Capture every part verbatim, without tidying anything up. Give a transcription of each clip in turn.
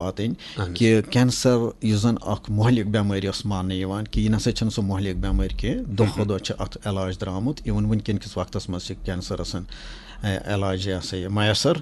واتٕنۍ کہِ کینسر یُس زَن اَکھ مۄہلِک بٮ۪مٲرۍ ٲس ماننہٕ یِوان، کہِ یہِ نَسا چھَنہٕ سۄ مۄہلِک بٮ۪مٲرۍ کینٛہہ۔ دۄہ کھۄتہٕ دۄہ چھِ اَتھ علاج درٛامُت۔ اِوٕن وٕنکٮ۪ن کِس وقتَس منٛز چھِ کینسرَس، اَ، علاج یہِ ہسا یہِ میسر۔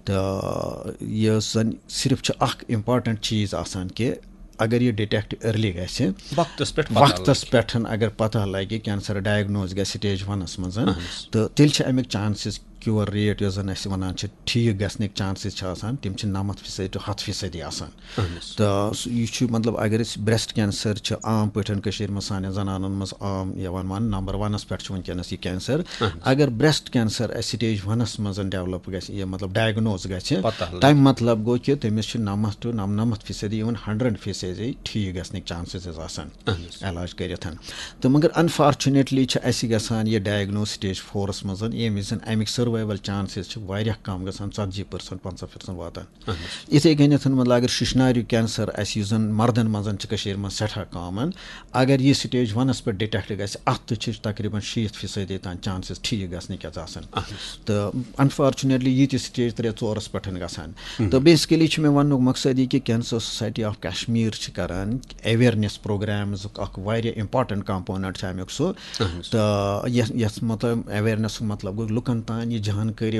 تہٕ یہِ زَن صرف چھُ اَکھ important چیٖز آسان کہِ اگر یہِ detect early گژھِ، وقتس پٮ۪ٹھ پتہ وقتس لگہِ۔ پٮ۪ٹھ اگر پتہ لگہِ، کینسر diagnose گژھِ stage ونس منٛز، اہن حظ۔ تہٕ تیٚلہِ چھِ اَمیُک chances، cure rate یۄس زن أسۍ ونان چھِ، ٹھیٖک گژھنٕکۍ chances چھِ آسان، تِم چھِ نَمَتھ فیصد to ہَتھ فیصدی آسان۔ اہن حظ۔ تہٕ سُہ، یہِ چھُ مطلب، اگر أسۍ breast cancer چھِ عام پٲٹھۍ کٔشیٖرِ منٛز سانٮ۪ن زنانن منٛز عام یِوان ماننہٕ، number ونس پٮ۪ٹھ چھُ وٕنکیٚنس یہِ کینسر۔ اہن حظ۔ اگر breast cancer اَسہِ stage ونس منٛز develop گژھِ، یہِ مطلب diagnose گژھِ، پتہ لگہِ۔ تَمہِ مطلب گوٚو کہِ تٔمِس چھِ نَمَتھ to نَمنَمَتھ فیصدی، even hundred فیصدی ٹھیٖک گژھنٕکۍ chances حظ آسان اہن حظ۔ علاج کٔرِتھ۔ تہٕ مگر unfortunately چھِ اَسہِ گژھان یہِ diagnose stage fourس منٛز، ییٚمہِ وِزِ اَمِکۍ survival chances چھِ واریاہ کم گژھان، ژتجی percent، پنٛژاہ percent واتان۔ اہن حظ۔ یِتھَے کٔنٮ۪تھ مطلب اگر شِشناریُک کینسر اَسہِ، یُس زَن مردَن منٛز چھِ کٔشیٖرِ منٛز سٮ۪ٹھاہ common، اگر یہِ stage ونس پٮ۪ٹھ detect گژھِ، اَتھ تہِ چھِ تقریباً شیٖتھ فیصدی تام chances ٹھیٖک گژھنٕکۍ حظ آسان۔ اہن حظ۔ تہٕ unfortunately یہِ تہِ stage ترٛےٚ ژورس پٮ۪ٹھ گژھان۔ تہٕ basically چھُ مےٚ وننُک مقصد یہِ کہِ Cancer Society of Kashmir چھِ کران awareness programsُک اکھ واریاہ important component چھُ اَمیُک سُہ۔ اہن حظ۔ تہٕ یَتھ، یَتھ مطلب awarenessُک مطلب گوٚو لُکن تام یہِ جانکٲری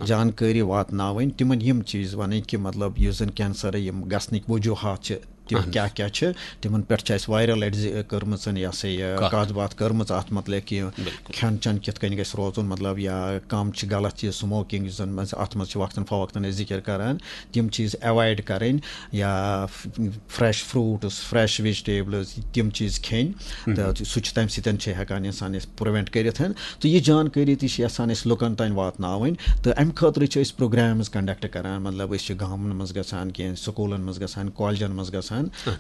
جانکٲری واتناوٕنۍ۔ واتناوٕنۍ، تِمن یِم چیٖز وَنٕنۍ کہِ مطلب یُس زَن کینسر یِم گژھنٕکۍ وجوہات چھِ، تِم اہن حظ۔ کیٛاہ کیٛاہ چھِ، تِمن پٮ۪ٹھ چھِ اَسہِ واریاہ لَٹہِ زِ-، کٔرمٕژ یہِ ہسا یہِ کَتھ۔ کَتھ باتھ کٔرمٕژ اَتھ متعلق کہِ بِلکُل۔ کھٮ۪ن چٮ۪ن کِتھ کٔنۍ گژھِ روزُن، مطلب یا کَم چھِ غلط چیٖز، smoking یُس زَن منٛز اَتھ منٛز چھِ وقتاً فوقتاً أسۍ ذِکِر کَران، تِم چیٖز avoid کَرٕنۍ یا fresh fruits، fresh vegetables، تِم چیٖز کھیٚنۍ۔ تہٕ سُہ چھُ، تَمہِ سۭتۍ چھِ ہٮ۪کان اِنسان أسۍ prevent کٔرِتھ۔ تہٕ یہِ جانکٲری تہِ چھِ یَژھان أسۍ لُکَن تام واتناوٕنۍ۔ تہٕ اَمہِ خٲطرٕ چھِ أسۍ programs conduct کَران، مطلب أسۍ چھِ گامَن منٛز گژھان، کینٛہہ سکوٗلَن منٛز گژھان، کالجَن منٛز گژھان،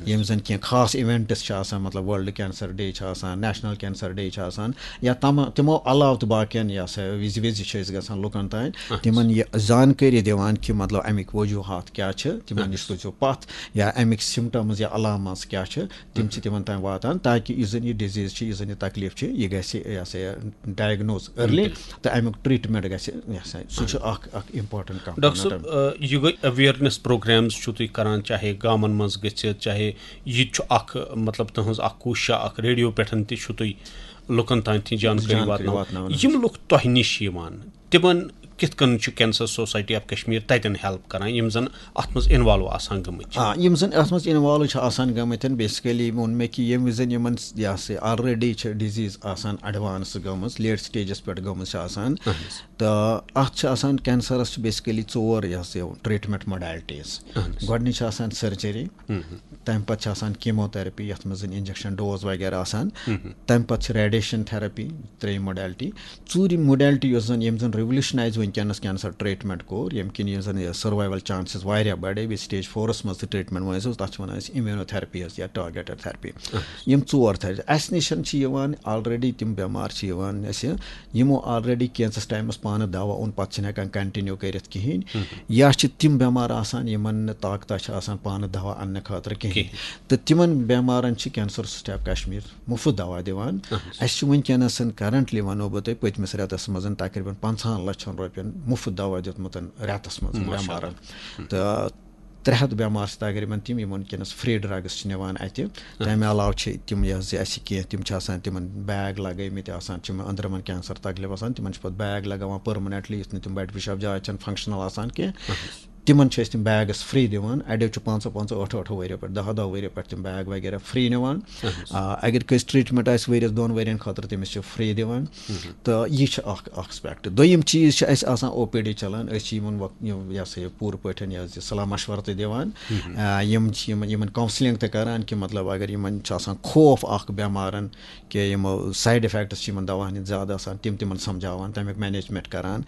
یِم زَن کینٛہہ خاص events چھِ آسان، مطلب World Cancer Day چھِ آسان، National Cancer Day چھِ آسان، یا تما-، تِمو علاوٕ تہِ باقیَن یہِ ہسا وِزِ وِزِ چھِ أسۍ گژھان لُکَن تام، تِمَن یہِ زانکٲری دِوان کہِ مطلب اَمِکۍ وجوٗہات کیٛاہ چھِ، تِمَن نِش روٗزِو پَتھ، یا اَمِکۍ symptoms یا علامات کیٛاہ چھِ، تِم چھِ تِمَن تام واتان، تاکہِ یُس زَن یہِ disease چھِ، یُس زَن یہِ تکلیٖف چھِ، یہِ گژھِ یہِ ہسا یہِ diagnose early، تہٕ اَمیُک treatment گژھِ یہِ ہسا، سُہ چھُ اَکھ، اَکھ important component۔ ڈاکٹر صٲب، آ، یہِ گٔے awareness programs چھُو تُہۍ کران، چاہے گامَن منٛز گٔژھِتھ، چاہے یہِ تہِ چھُ اَکھ، مطلب، تُہٕنٛز اَکھ کوٗشِش اَکھ، ریڈیو پٮ۪ٹھ تہِ چھُو تُہۍ لُکَن تام تہِ جانکٲری جانکٲری واتناوان۔ واتناوان۔ یِم لُکھ تۄہہِ نِش یِوان، تِمَن کِتھ کٔنۍ چھُ Cancer Society of Kashmir تَتٮ۪ن help کران، یِم زَن اَتھ منٛز involve آسان گٔمٕتۍ چھِ؟ آ، یِم زَن اَتھ منٛز involve چھِ آسان گٔمٕتۍ، basically ووٚن مےٚ کہِ ییٚمہِ وِزِ یِمَن یہِ ہسا already چھِ disease آسان advance گٔمٕژ، late stageس پٮ۪ٹھ گٔمٕژ چھِ آسان، تہٕ اَتھ چھِ آسان، کینسرَس چھِ basically ژور یہِ ہسا یہِ treatment modalities۔ گۄڈٕنِچ چھِ آسان surgery، تَمہِ پَتہٕ چھِ آسان chemotherapy، یَتھ منٛز زَن injection dose وغیرہ آسان، تَمہِ پَتہٕ چھِ radiation therapy، ترٛیٚیِم modality۔ ژوٗرِم modality یۄس زَن، ییٚمۍ زَن revolutionize وٕنکیٚنَس cancer treatment کوٚر، ییٚمہِ کِنۍ یُس زَن یہِ survival chances واریاہ بَڑے، بیٚیہِ stage fourس منٛز تہِ treatment وٲنۍ سُہ، تَتھ چھِ وَنان أسۍ immunotherapy حظ یا targeted therapy۔ یِم ژور therapy اَسہِ نِش چھِ یِوان already، تِم بٮ۪مار چھِ یِوان اَسہِ، یِمو already کینٛژَس ٹایمَس پانہٕ دَوا اوٚن، پَتہٕ چھِنہٕ ہٮ۪کان continue کٔرِتھ کِہیٖنۍ۔ یا چھِ تِم بٮ۪مار آسان، یِمَن نہٕ طاقتہ چھِ آسان پانہٕ دَوا اَننہٕ خٲطرٕ کِہیٖنۍ۔ تہٕ تِمَن بٮ۪مارَن چھِ Cancer Society of Kashmir مُفت دَوا دِوان۔ اَسہِ چھُ وٕنکیٚنَس currently وَنو بہٕ تۄہہِ، پٔتمِس رٮ۪تَس منٛز تقریٖباً پنٛژاہَن لَچھَن رۄپیَن مُفت دَوا دیُتمُت رٮ۪تَس منٛز بٮ۪مارَن۔ تہٕ ترٛےٚ ہَتھ بٮ۪مار چھِ تقریٖباً تِم، یِمَن وٕنکیٚنَس free drugs چھِ نِوان اَتہِ۔ تَمہِ علاوٕ چھِ تِم یہِ حظ یہِ اَسہِ کینٛہہ، تِم چھِ آسان تِمَن bag لَگٲومٕتۍ آسان، چھِ یِمَن أنٛدرَمَن cancer تکلیٖف آسان، تِمَن چھِ پَتہٕ bag لَگاوان permanently، یُتھ نہٕ تِم بَڑِ پِشاب جایہِ چھَنہٕ functional آسان کینٛہہ۔ تِمَن چھِ أسۍ تِم bags free دِوان، اَڑیو چھِ پانٛژو پانٛژو ٲٹھو ٲٹھو ؤریو پٮ۪ٹھ، دَہو دَہو ؤریو پٮ۪ٹھ تِم bag وغیرہ free نِوان۔ آ، اگر کٲنٛسہِ treatment آسہِ ؤرِیَس دۄن ؤرِیَن خٲطرٕ، تٔمِس چھِ free دِوان۔ تہٕ یہِ چھِ اَکھ aspect۔ دوٚیِم چیٖز چھِ اَسہِ آسان OPD چَلان، أسۍ چھِ یِمَن وق-، یِم، یہِ ہسا یہِ پوٗرٕ پٲٹھۍ یہِ حظ یہِ صلاح مشورٕ تہِ دِوان۔ آ، یِم چھِ یِمَن، یِمَن counselling تہِ کَران کہِ مطلب اگر یِمَن چھُ آسان خوف اَکھ بٮ۪مارَن، کہِ یِمو side effects چھِ یِمَن دَواہَن ہِنٛدۍ زیادٕ آسان، تِم تِمَن سَمجھاوان، تَمیُک management کَران۔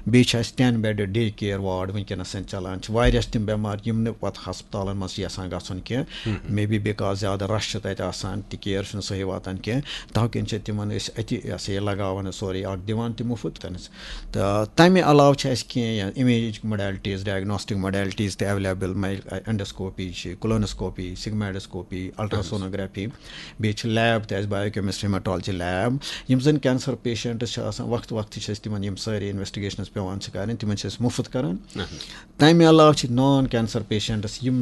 بیٚیہِ چھِ اَسہِ ten bedded day care ward وٕنکیٚنَس چَلان، چھِ واریاہ چھِ تِم بٮ۪مار یِم نہٕ پَتہٕ ہَسپَتالَن منٛز چھِ یَژھان گژھُن کینٛہہ، maybe because زیادٕ rush چھُ تَتہِ آسان تہٕ care چھُنہٕ صحیح واتان کینٛہہ، تَوٕ کِنۍ چھِ تِمَن أسۍ أتی یہِ ہسا یہِ لَگاوان سورُے اَکھ دِوان تہِ مُفت تَنَس۔ تہٕ تَمہِ علاوٕ چھِ اَسہِ کینٛہہ یا imaging modalities، diagnostic modalities تہِ available، endoscopy چھِ، colonoscopy، sigmoidoscopy، ultrasonography، بیٚیہِ چھِ lab تہِ اَسہِ biochemistry hematology lab، یِم زَن cancer patients چھِ آسان، وقتہٕ وقتہٕ چھِ أسۍ تِمَن یِم سٲری investigations پٮ۪وان چھِ کَرٕنۍ، تِمَن چھِ أسۍ مُفت کَران۔ تَمہِ امہِ علاوٕ چھِ نان کینسر پیشنٹس، یِم